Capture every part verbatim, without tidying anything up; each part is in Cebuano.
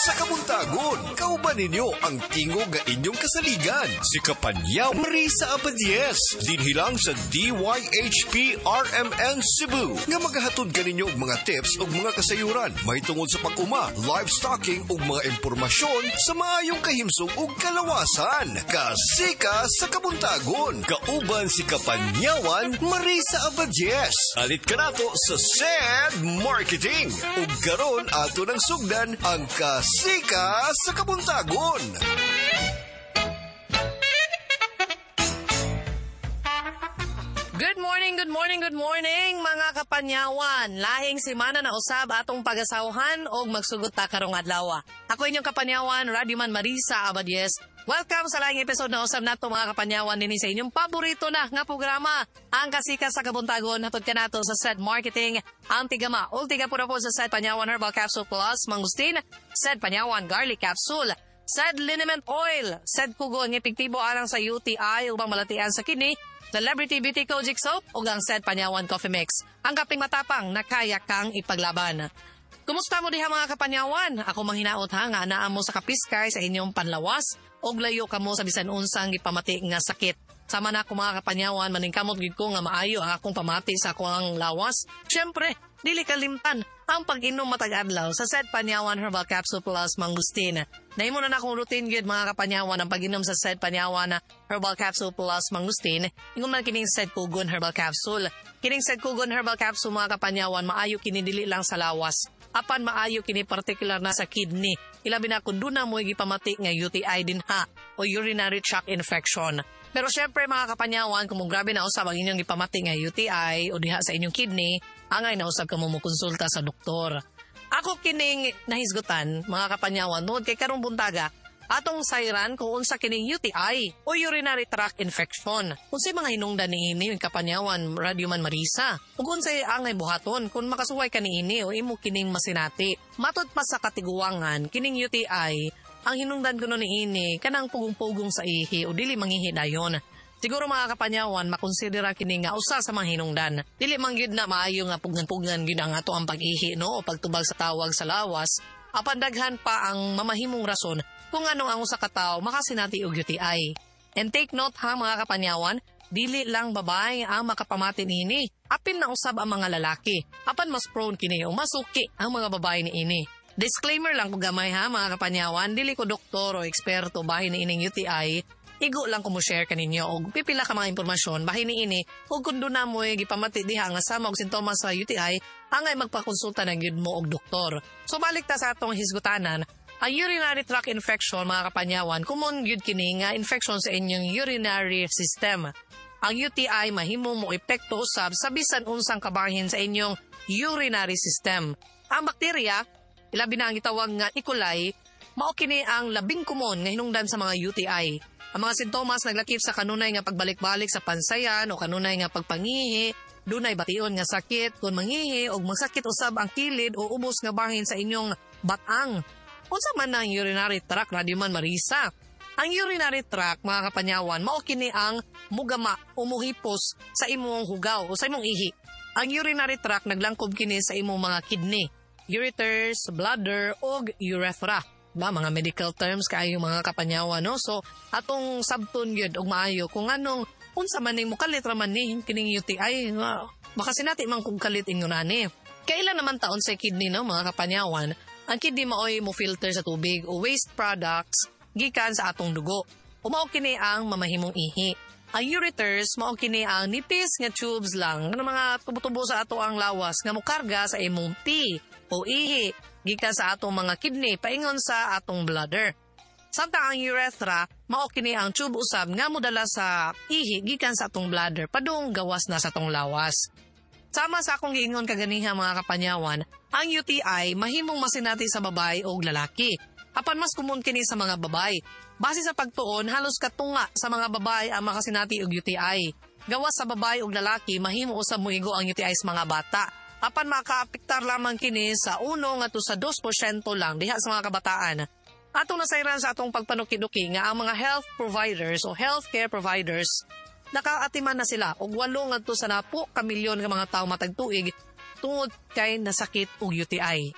Sa Kabuntagon. Kauban ninyo ang tingog nga inyong kasaligan. Si Kapanyaw Marisa Abadies. Dinhi lang sa D Y H P R M N Cebu. Nga magahatod kaninyo og mga tips ug mga kasayuran mahitungod sa pag-uma, livestocking ug mga impormasyon sa maayong kahimsog ug kalawasan. Kasika sa Kabuntagon. Kauban si Kapanyawan Marisa Abadies. Alit ka nato sa SED Marketing. Ug karon ato ng sugdan ang Kasika sa Kabuntagon. Good morning, good morning, good morning, mga kapanyawan. Lahing simana na usab atong pagasawhan og magsugot ta karong adlaw. Ako inyong kapanyawan, Radyoman Marisa Abadies. Welcome sa lahing episode na usab nato, mga kapanyawan, dinhi sa inyong paborito na nga programa, ang Kasika sa Kabuntagon, hatod kanato sa SED Marketing, ang tigama ug tiga po sa SED Panyawan Herbal Capsule Plus Mangustin, SED Panyawan Garlic Capsule, SED Liniment Oil, SED Kugon nga epektibo alang sa U T I ubang malatian sa kidney, Celebrity Beauty Kojic Soap ug ang SED Panyawan Coffee Mix. Ang kaping matapang na kaya kang ipaglaban. Kumusta mo diha, mga kapanyawan? Ako manghinaot ha nga naa mo sa kapiskay sa inyong panlawas ug layo kamo sa bisan unsang gipamati nga sakit. Sama na ako, mga kapanyawan, maningkamot gid ko nga maayo ang akong pamati sa akong lawas. Siyempre, dili kalimtan ang pag-inom matag adlaw sa SED Panyawan Herbal Capsule Plus Mangustin. Nahimo na na akong routine gyud, mga kapanyawan, ang pag-inom sa SED Panyawan Herbal Capsule Plus Mangustin. Ingon man kining SED Kugon Herbal Capsule. Kining SED Kugon Herbal Capsule, mga kapanyawan, maayo kini dili lang sa lawas. Apan maayo kini particular na sa kidney. Ilabi na kung duna mo gipamati nga U T I din ha o urinary tract infection. Pero syempre, mga kapanyawan, kung grabe na usab ang inyong gipamati nga U T I o diha sa inyong kidney, angay na usab kamo mo konsulta sa doktor. Ako kining nahisgutan, mga kapanyawan, tungod kay karong buntaga, atong sayran kung unsa kining U T I o urinary tract infection. Unsay mga hinungdan niini, Kapanyawan Radyoman Marisa? Ug unsay angay buhaton kung makasuway ka niini o imo kining masinati? Matud pa sa katiguangan, kining U T I, ang hinungdan kuno niini kanang pugong-pugong sa ihi o dili mangihi dayon. Siguro, mga kapanyawan, makonsidera kini nga usa sa mga hinungdan. Dili man gyud na maayo nga pugnan-pugnan gyud ang ato ang pag-ihi, no, o pagtubag sa tawag sa lawas. Apan daghan pa ang mamahimong rason kung anong ang usa ka tawo makasinati og U T I. And take note ha, mga kapanyawan, dili lang babae ang makapamati niini. Apil na usab ang mga lalaki. Apan mas prone kini o masuki ang mga babae niini. Disclaimer lang ko gamay ha, mga kapanyawan, dili ko doktor o eksperto bahin niining U T I. Igo lang ko mo share kaninyo og pipila ka mga impormasyon bahin niini ug kung duna mo'y gipamati diha nga sama og sintomas sa U T I, angay magpakonsulta na gyud mo og doktor. So balik ta sa atong hisgutanan, ang urinary tract infection, mga kapanyawan, common gyud kini nga infection sa inyong urinary system. Ang U T I mahimo mo epekto usab sa bisan unsang kabahin sa inyong urinary system. Ang bakterya, ilabi na ang gitawag nga E. coli, mao kini ang labing komon nga hinungdan sa mga U T I. Ang mga sintomas naglakip sa kanunay nga pagbalik-balik sa pansayan o kanunay nga pagpangihi, dunay bation nga sakit kung mangihi o magsakit usab ang kilid o ubos nga bahin sa inyong batang. Unsa man ang urinary tract, Radyoman Marisa? Ang urinary tract, mga kapanyawan, mao kini ang mugama o muhipos sa imong hugaw o sa imong ihi. Ang urinary tract naglangkob kini sa imong mga kidney, ureters, bladder ug urethra. Ba mga medical terms kaayo, mga kapanyawan, no? So atong sabton gyud og maayo kung anong unsa man ning mukalit ra man ni kining U T I nga baka sinati man kung kalit ingon ani. Kailan naman taon sa kidney, no, mga kapanyawan? Ang kidney maoy mo filter sa tubig o waste products gikan sa atong dugo. O mao kini ang mamahimong ihi. Ang ureters mao kini ang nipis nga tubes lang nga mga tubo-tubo sa ato ang lawas nga mokarga sa imong pee o ihi gikan sa atong mga kidney paingon sa atong bladder. Samtang ang urethra, mao kini ang tube usab nga modala sa ihi gikan sa atong bladder padung gawas na sa atong lawas. Sama sa akong giingon kaganiha, mga kapanyawan, ang U T I mahimong masinati sa babae o lalaki. Apan mas common kini sa mga babae. Base sa pagtuon, halos katunga sa mga babae ang makasinati og U T I. Gawas sa babae ug lalaki, mahimo usab moigo ang U T I sa mga bata. Apan makaapektar lamang kini sa uno ngadto sa dos porsyento lang diha sa mga kabataan. Atong nasayran sa atong pagpanuki-duki nga ang mga health providers o healthcare providers, nakaatiman na sila og walo ngadto sa napo ka milyon ka mga tawo matag tuig tungod kay nasakit og U T I.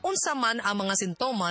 Unsa man ang mga sintomas